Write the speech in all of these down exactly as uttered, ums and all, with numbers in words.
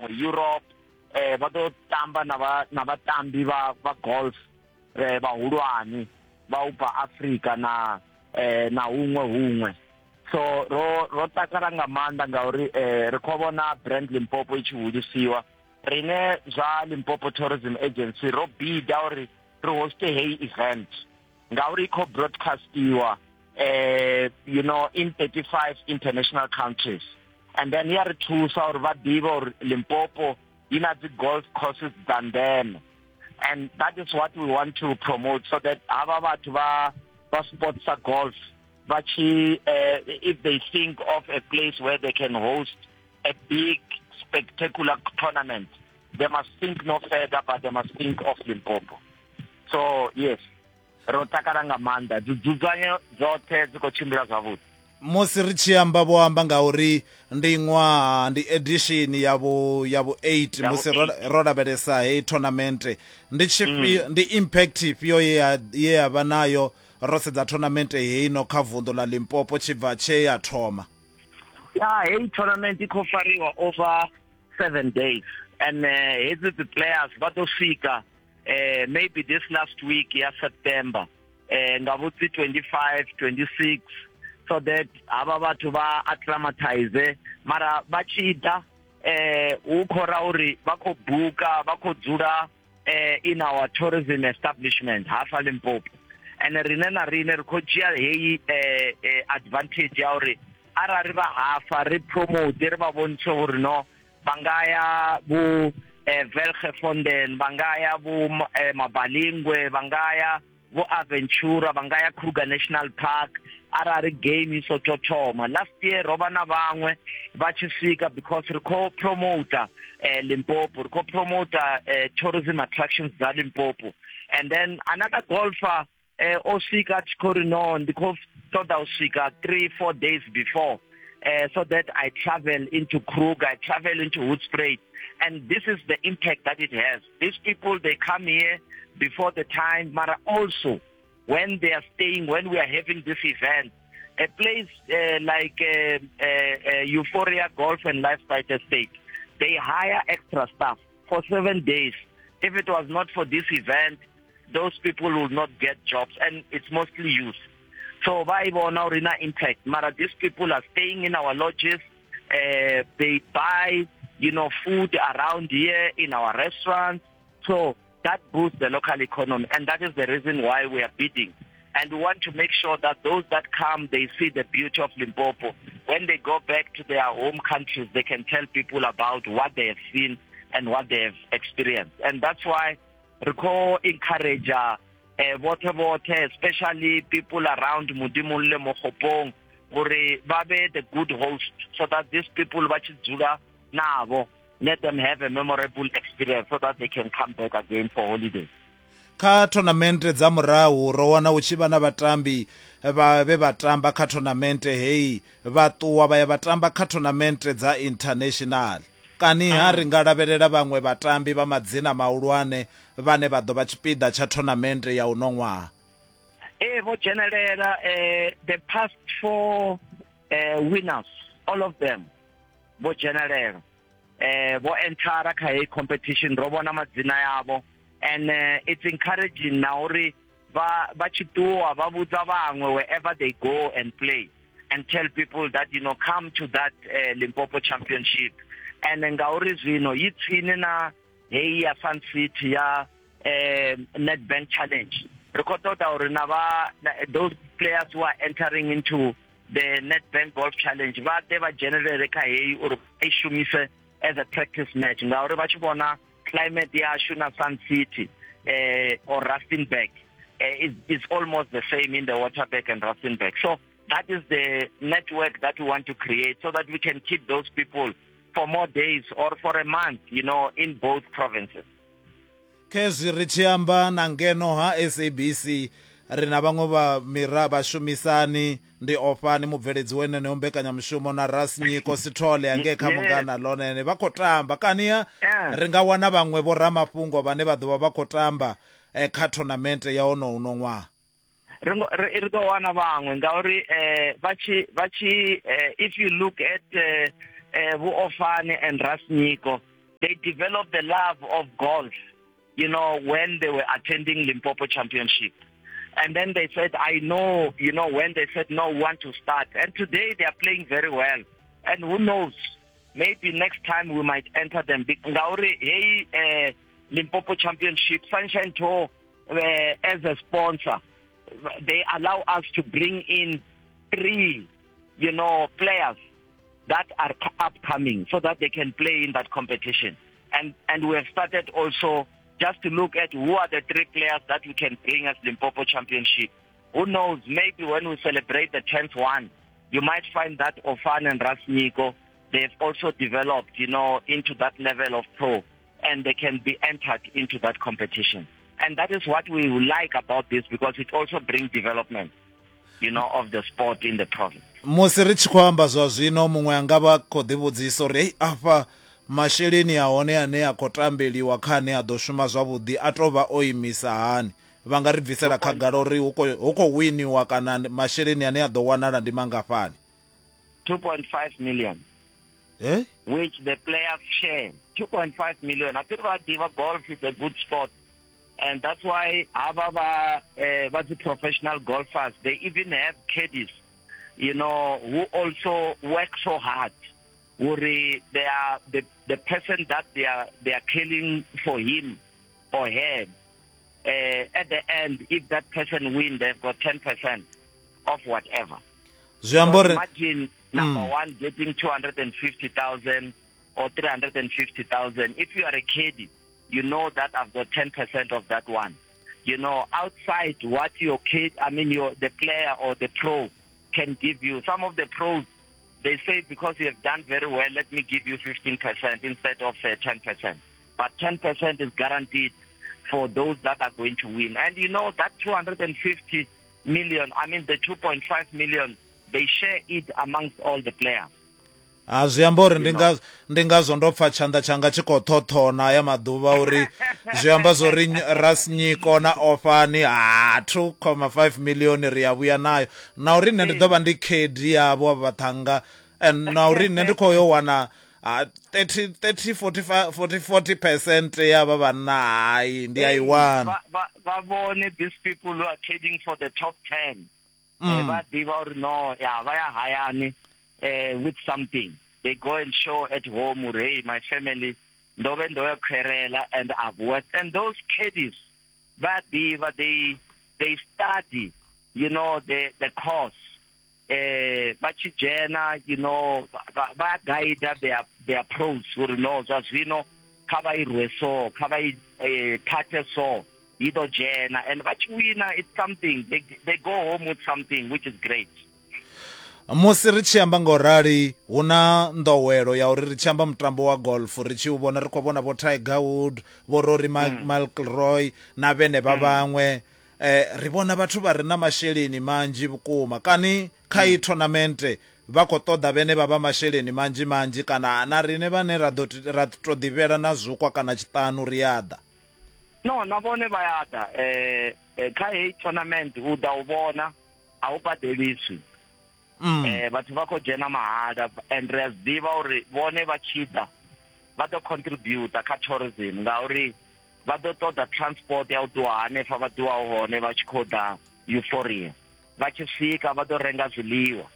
vhaṅwe Europe eh vha ḓo tamba na vha na vhatambi vha vha golf eh vhahulwane vha u bva Africa na eh na huṅwe huṅwe. So ro ro takala nga maanḓa ngauri eh ri khou vhona brand Limpopo i tshi hulisiwa. Rine zwa Limpopo Tourism Agency ro bida uri ri hoste heyi event ngauri i khou broadcastiwa eh you know in thirty-five international countries, and then ya ri thusa uri vha ḓivhe uri Limpopo i na dzi golf courses dza ndeme, and that is what we want to promote, so that havha vhathu vha vha sports sa golf vha tshi uh, if they think of a place where they can host a big spectacular tournament, they must think no further, but they must think of Limpopo. So yes, ro takala nga maanḓa, dzudzanyo dzoṱhe dzi khou tshimbila zwavhuḓi. Musi ri tshi amba vho amba ngauri ndi ṅwaha ndi edition ya vhu ya vhu eight musi ro, ro lavhelesa heyi tournament, ndi tshifhio mm. ndi impact ifhio ye ya ye ya vha nayo ro sedza tournament heino kha vunḓu ḽa Limpopo tshibva tshe ya thoma? Ya, heyi tournament i khou fariwa over seven days, and uh, hedzi dzi players vha ḓo swika uh, maybe this last week ya September eh nga vhutsi twenty-five twenty-six, so that havha vhathu vha acclimatize. Mara vha tshi ḓa eh hu khou ra uri vha khou buka, vha khou dzula eh in our tourism establishment hafa Limpopo, and rine na rine ri khou dzhia heyi eh, eh, advantage ya uri arali vha hafa ri promote, ri vha vhontshe uri no vha nga ya vhu eh, Welgevonden, vha nga ya vhu eh, Mabalingwe, vha nga ya vho Aventura, vha nga ya Kruger National Park arali game i so to thoma. Last year ro vha na vhaṅwe vha tshi swika because ri khou promota eh, Limpopo, ri khou promota eh, tourism attractions dza Limpopo. And then another golfer eh, o swika a tshi khou ri no ndi khou ṱoḓa u swika three four days before uh, so that I travel into Kruger, I travel into Hoedspruit. And this is the impact that it has. These people, they come here before the time, but also when they are staying, when we are having this event, a place uh, like uh, uh, uh, Euphoria Golf and Lifestyle Estate, they hire extra staff for seven days. If it was not for this event, those people will not get jobs, and it's mostly youth. So by now, impact. Mara, these people are staying in our lodges. Uh, they buy, you know, food around here in our restaurants. So that boosts the local economy, and that is the reason why we are bidding. And we want to make sure that those that come, they see the beauty of Limpopo. When they go back to their home countries, they can tell people about what they have seen and what they have experienced. And that's why we encourage uh, water water, especially people around Modimolle, Mokgopong, gore ba be the good host, so that these people ba tshi dzula navho, let them have a memorable experience so that they can come back again for holidays. Kha tournament dza murahu ro wana u tshi vha na vhatambi vha vhe vha tamba kha tournament heyi vha ṱuwa vha ya vha tamba kha tournament dza international. Kani ha ri nga lavhelela vhaṅwe vhatambi vha madzina mahulwane vhane vha ḓo vha tshipiḓa tsha tournament ya uno ṅwaha? Eh, vho dzhenelela eh, the past four eh, winners, all of them vho dzhenelela, eh, vho entara kha heyi competition, ro vhona madzina yavho, and uh, it's encouraging na uri vha vha tshi ṱuwa vha vhudza vhaṅwe wherever they go and play and tell people that, you know, come to that uh, Limpopo Championship. And ngauri zwino yi tsini na heyi ya Sun City ya eh, Nedbank Challenge, ri khou ṱoḓa uri na vha those players who are entering into the Nedbank Golf Challenge vha ḓe vha dzhenelele kha heyi uri vha i shumise as a practice match, ngauri vha tshi vhona climate yashu na Sun City eh, or Rustenburg eh, is, is almost the same in the Waterberg and Rustenburg. So that is the network that we want to create so that we can keep those people for more days or for a month, you know, in both provinces. Khezwi ri tshi amba na ngeno ha S A B C ri na vhaṅwe vha mira vhashumisani, ndi Ofani mubveledzi wenene mbekanyamushumo na Rasnyiko Sithole ange kha Mungana Lonene vha khou tamba. Kani ri nga wana vhaṅwe vho ramafhungo vhane vha ḓo vha vha khou tamba eh, kha tournament ya ono uno ṅwaha? Ri ri ḓo wana vhaṅwe ngauri eh, vha tshi vha tshi eh, if you look at eh, eh, vho Ofani and Rasnyiko, They developed the love of golf, you know, when they were attending Limpopo Championship. And then they said, I know, you know, when they said, no, we want to start. And today they are playing very well. And who knows, maybe next time we might enter them. Ngauri, hey, uh, Limpopo Championship, Sunshine Tour, uh, as a sponsor, they allow us to bring in three, you know, players that are upcoming so that they can play in that competition. And, and we have started also just to look at who are the three players that we can bring as Limpopo Championship. Who knows, maybe when we celebrate the tenth one, you might find that Ofan and Rasniko, they've also developed, you know, into that level of pro, and they can be entered into that competition. And that is what we like about this, because it also brings development, you know, of the sport in the province. Musi ri tshi khou amba zwa zwino muṅwe anga vha khou ḓivhudzisa uri hey, afha masheleni a hone ane a khou tambeliwa kha ane a ḓo shuma zwavhuḓi a tou vha o imisa hani, vha nga ri bvisela khagala uri hu khou winiwa kana masheleni ane a ḓo wanala ndi mangafhani? two point five million. Eh? Which the players share. two point five million. I think that golf is a good sport. And that's why our uh, the professional golfers, they even have caddies, you know, who also work so hard. They are the, the person that they are they are killing for him or her. Uh, at the end, if that person wins, they've got ten percent of whatever. So imagine number mm. one getting two hundred fifty thousand or three hundred fifty thousand. If you are a caddy, you know that I've got ten percent of that one. You know, outside what your kid, I mean, your the player or the pro can give you. Some of the pros, they say, because you have done very well, let me give you fifteen percent instead of uh, ten percent. But ten percent is guaranteed for those that are going to win. And you know, that two hundred fifty million, I mean, the two point five million, they share it amongst all the players. A zwi amba uri ndi nga ndi ngazwo ndo pfa tshanḓa tshanga tshi khou ṱhoṱhona ya maḓuvha uri zwi amba zwori Rasnyiko na Ofani ha two point five million ri ya vhuya nayo, na uri nṋe ndi ḓo vha ndi khedi yavho vhaṱhanga, and na uri nṋe ndi khou yo wana thirty, thirty, forty, forty, forty percent ya vha vhanna, hai ndi a i wana. Vha vhone these people who are trading for the top ten, vha ḓivha uri no ya vha ya hayani Uh, with something. They go and show at home, hey, my family, and I've worked. And those caddies, they, they study, you know, the, the course. Uh, you know, guide their, their pros, who knows, as we know, and it's something. They, they go home with something, which is great. Musi ri tshi amba ngo rali hu na nḓowelo ya uri ri tshi amba mutambo wa golf ri tshi u vhona ri khou vhona vho Tiger Woods, vho Rory McIlroy na vhene vha vhaṅwe, eh ri vhona vhathu vha re na masheleni manzhi vhukuma. Kani kha i tournament vha khou ṱoḓa vhene vha vha masheleni manzhi manzhi kana na rine vhane ra ḓo ra to ḓivhela na zukwa kana tshiṱanu ri ya ḓa? No, na vhone vha ya ḓa. Eh kha heyi tournament u ḓa u vhona a u badeliswi. Mm. Eh vhathu vha khou dzhena mahala, and ri a zwi ḓivha uri vhone vha tshi ḓa vha ḓo contribute kha tourism ngauri vha ḓo ṱoḓa transport ya u ṱuwa hanefha vha ṱuwaho hone vha tshi khou ḓa Euphoria, vha tshi swika vha ḓo renga zwiḽiwa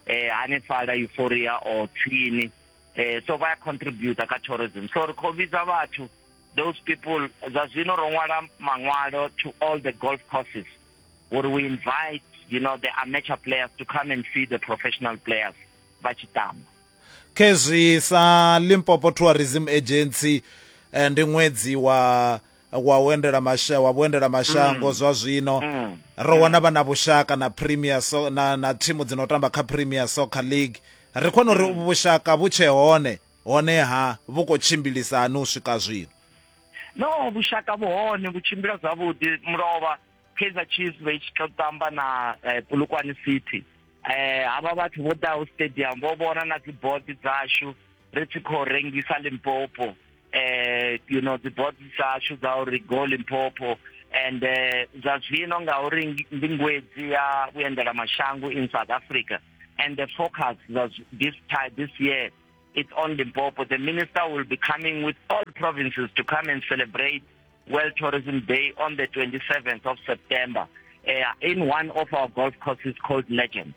eh hanefhaḽa Euphoria or tsini, eh so vha ya contribute kha tourism. So ri khou vhidza vhathu, those people, zwa zwino ro ṅwala maṅwalo to all the golf courses where we invite, you know, the amateur players to come and see the professional players vha tshi tamba. Khezwi sa Limpopo Tourism Agency ndi ṅwedzi wa wa uendela masha wa vhuendela mashango zwa zwino ro wana vha na vhushaka na Premier so na na thimu dzino tamba kha Premier Soccer League, ri khona uri vhushaka vhu tshe hone hone ha vhu khou tshimbilisa hani u swika zwino? No, vhushaka vhu hone, vhu tshimbila zwavhuḓi. Mulovha Kaizer Chiefs vha tshi khou tamba na Polokwane City, eh havha vhathu vho ḓaho stadium vho vhona na dzi board dzashu ri tshi khou rengisa Limpopo, eh you know, dzi board dzashu dza uri go Limpopo. And zwa zwino ngauri ndi ngwedzi ya vhuendela mashango in South Africa, and the focus was this time this year it's on Limpopo. The minister will be coming with all provinces to come and celebrate World Tourism Day on the twenty-seventh of September uh, in one of our golf courses called Legend,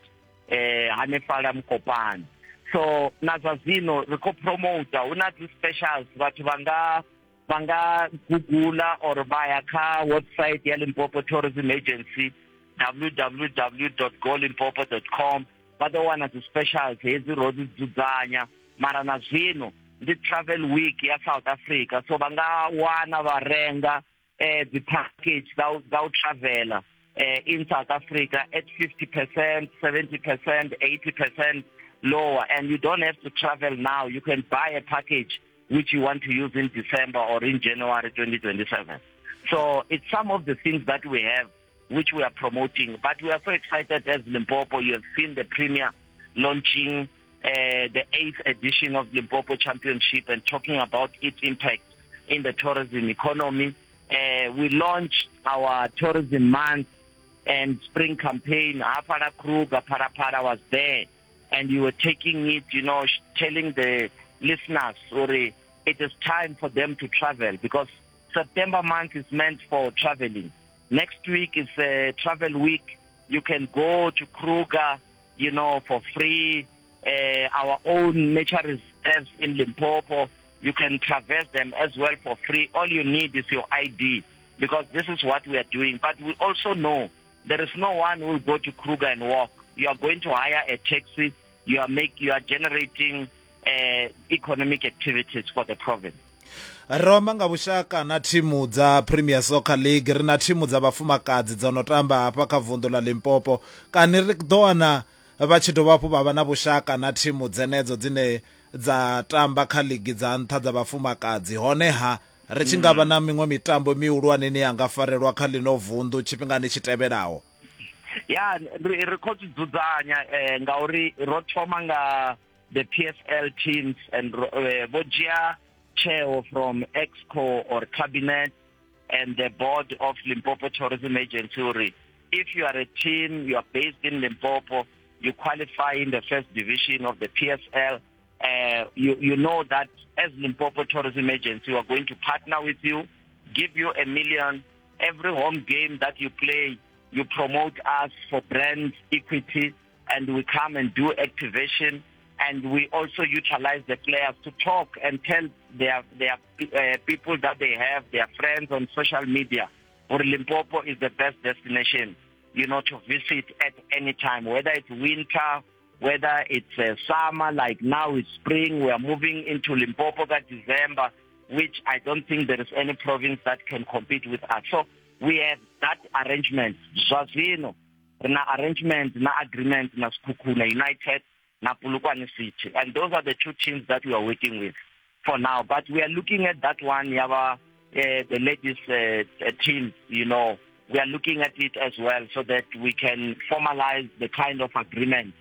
uh, hanefhaḽa Mokopane. So na zwa zwino ri khou promota, hu na dzi specials, vhathu vha nga vha nga gugula or vha ya kha website ya Limpopo Tourism Agency, w w w dot go limpopo dot com, vha ḓo wana dzi specials hedzi ro dzi dzudzanya. Mara na zwino ndi travel week ya South Africa, so vha nga wana vha renga eh, dzi package dza u, dza u travela eh, in South Africa at fifty percent, seventy percent, eighty percent lower, and you don't have to travel now. You can buy a package which you want to use in December or in January twenty twenty-seven. So it's some of the things that we have which we are promoting. But we are so excited as Limpopo. You have seen the Premier launching uh, the eighth edition of Limpopo Championship and talking about its impact in the tourism economy. Uh, we launched our tourism month and spring campaign. Hafara Kruger, Parapara was there, and you were taking it, you know, telling the listeners, sorry, it is time for them to travel, because September month is meant for traveling. Next week is a travel week. You can go to Kruger, you know, for free. Uh, our own nature reserves in Limpopo, you can traverse them as well for free. All you need is your I D, because this is what we are doing. But we also know there is no one who will go to Kruger and walk. You are going to hire a taxi. You are make, you are generating uh, economic activities for the province. Ro amba nga vhushaka na thimu dza Premier Soccer League, ri na thimu dza vhafumakadzi dzo no tamba hafha kha vunḓu ḽa Limpopo. Kani ri ḓo wana vha tshi dovha hafhu vha vha na vhushaka na thimu dzenedzo dzine dza tamba kha ligi dza nṱha dza vhafumakadzi? Honeha ri tshi nga vha na miṅwe mitambo mihulwane ine ya nga farelwa kha ḽino vunḓu tshifhingani tshi tevhelaho? Ya, ri ri khou zwi dzudzanya eh, ngauri ro thoma nga the P S L teams and uh, vho dzhia chair from EXCO or cabinet and the board of Limpopo Tourism Agency. Uri if you are a team, you are based in Limpopo, you qualify in the first division of the P S L, uh, you, you know that as Limpopo Tourism Agency, we are going to partner with you, give you a million. Every home game that you play, you promote us for brand equity, and we come and do activation. And we also utilize the players to talk and tell their, their uh, people that they have, their friends on social media, or Limpopo is the best destination, you know, to visit at any time, whether it's winter, whether it's uh, summer, like now it's spring, we are moving into Limpopo that December, which I don't think there is any province that can compete with us. So we have that arrangement. Zwa zwino, ri na arrangement, na agreement, na Sekhukhune United, na Polokwane City. And those are the two teams that we are working with for now. But we are looking at that one, Yava, uh, the ladies uh, team, you know, we are looking at it as well, so that we can formalize the kind of agreement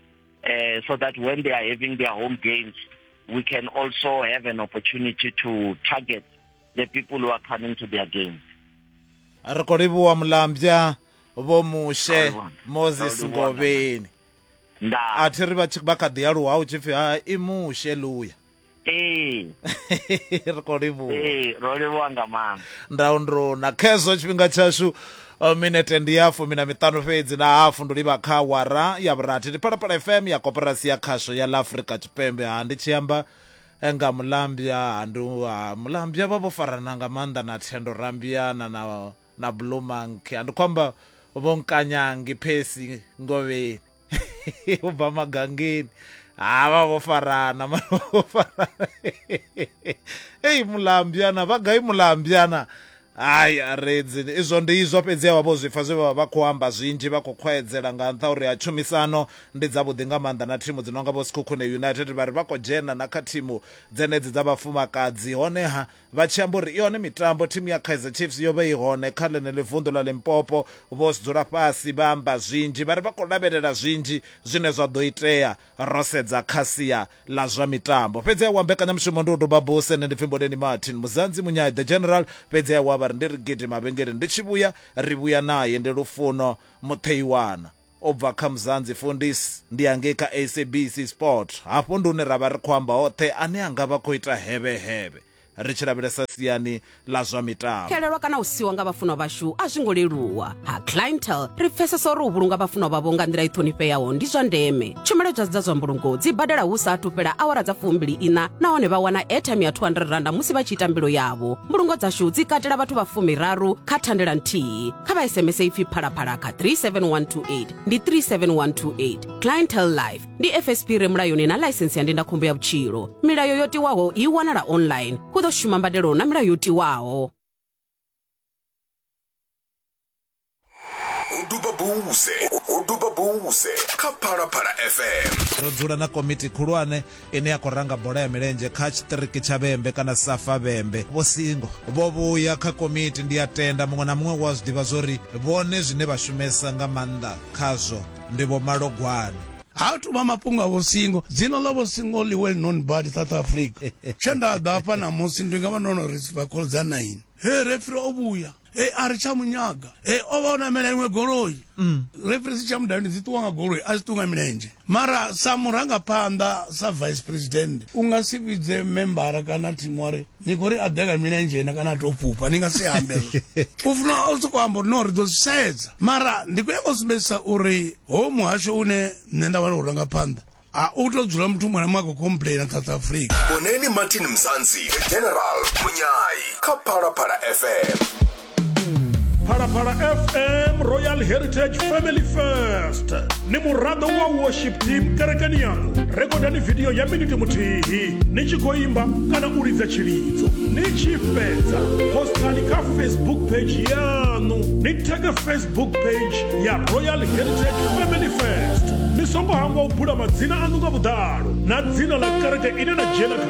uh, so that when they are having their home games, we can also have an opportunity to target the people who are coming to their games. Ri khou livhuwa Mulambya Vho Mushe Moses Ngovheni. Nda. A thi ri vha tshi vha kha ḓi aluwa hu tshi pfi ha i Mushe luya. Ee. Ri khou livhuwa. Ee, ro livhuwa nga maanḓa. Ndaundro na khezwo tshifhinga tshashu minete ndi ya fumi na miṱanu fhedzi na hafu ndo livha kha awara ya vhurathi. Ndi Phalaphala F M ya Koporasi ya Khasho ya ḽa Afrika Tshipembe. Ha ndi tshi amba nga Mulambya, ndi Mulambya vha vho farana nga maanḓa na Thendo Rambiana na na Blue Monkey. Ndi khou amba vho Nkanyangi Phesi Ngovheni u bva Magangeni. Ha vha vho farana, vho farana. Ei Mulambyana vha gai Mulambyana? Ai aredzi izwo ndi izwo fhedzi vha vho zwipfa zwe vha vha khou amba zwinzhi, vha khou khwaedzela nga nṱha uri a tshumisano ndi dzavhuḓi nga maanḓa na thimu dzi nonga vho Sekhukhune United, vha ri vha khou dzhena na kha thimu dzenedzi dza vhafumakadzi. Honeha vha tshi amba uri i hone mitambo, thimu ya Kaizer Chiefs yo vha i hone kha ḽeneḽi vunḓu ḽa Limpopo, vho dzula fhasi vha amba zwinzhi, vha ri vha khou lavhelela zwinzhi zwine zwa ḓo itea ro sedza kha sia ḽa zwa mitambo. Fhedzi wa mbekanyamushumo ndi u doba buse, nṋe ndi pfi Mboneni Martin Muzanzi Munyai the General. Fhedzi wa vha ri ndi ri gidi mavhengele, ndi tshi vhuya ri vhuya naye ndi Lufuno Mutheiwana. U bva kha Mzansi Fundis ndi hangei kha S A B C Sport. Hafho ndi hune ra vha ri khou amba hoṱhe ane a nga vha khou ita hevhehevhe ri tshi lavhelesa siani ḽa zwa mitambo. Xelelwa kana u siwa nga vhafunwa vhashu a zwi ngo leluwa. Ha Clientele ri pfesesa uri u vhulunga vhafunwa vhavho nga nḓila i ṱhonifheaho ndi zwa ndeme. Tshumelo dza dza zwa mbulungo dzi badela hu sa athu fhela awara dza fumbili ina nahone vha wana airtime ya two hundred randa musi vha tshi ita mbilo yavho. Mbulungo dzashu dzi katela vhathu vha fumiraru kha thandela nthihi. Kha vha S M S ipfi phalaphala kha three seven one two eight ndi three seven one two eight. Clientele Life ndi F S P re mulayoni na ḽaisensi ya ndindakhombo ya vhutshilo. Milayo yo tiwaho i wanala online. Hu ḓo shuma mbadelo na milayo yo tiwaho. Uduba buse, uduba buse kha Phalaphala F M. Ro dzula na komiti khulwane ine ya khou ranga bola ya milenzhe kha tshiṱiriki tsha Vhembe kana Safa Vhembe. Vho Singo vho vhuya kha komiti, ndi a tenda muṅwe na muṅwe wa zwi ḓivha zwori vhone zwine vha shumesa nga maanḓa khazwo ndi vho Malogwane. Ha tu vha mafhungo a Vho Singo, dzina ḽa Vho Singo ḽi well known badi South Africa. Tshe nda ḓa hafha ṋamusi ndi nga vha ndo no receive call dza nine. He referee o vhuya, he a ri tsha munyaga, he o vha o namela iṅwe goloi. Referee si tsha mudavhi dzi ṱuwa nga goloi, a si ṱuwa nga milenzhe. Mara sa murangaphanḓa sa vice president u nga si vhidze membara kana thimu wa ri ni khou ri a ḓe nga milenzhe na kana a tou fhufha, ni nga si ambe. U funa o sokou amba uri no ri ḓo zwi sedza. Mara ndi khou nyanga u sumbedzisa uri ho muhasho une nṋe nda vha ndo u ranga phanḓa a u tou dzula muthu muṅwe na muṅwe a khou complaina South Africa. Boneni Martin Mzansi, General Munyai kha Phalaphala F M. Phalaphala F M Royal Heritage Family First. Ni muraḓo wa worship team kerekeni yaṋu. Rekodani video ya miniti muthihi ni tshi khou imba kana u lidza tshilidzo. Ni tshi fhedza postani kha Facebook page yaṋu. Ni tag Facebook page ya Royal Heritage Family First. Ni songo hangwa u bula madzina aṋu nga vhuḓalo na dzina ḽa kereke ine na dzhena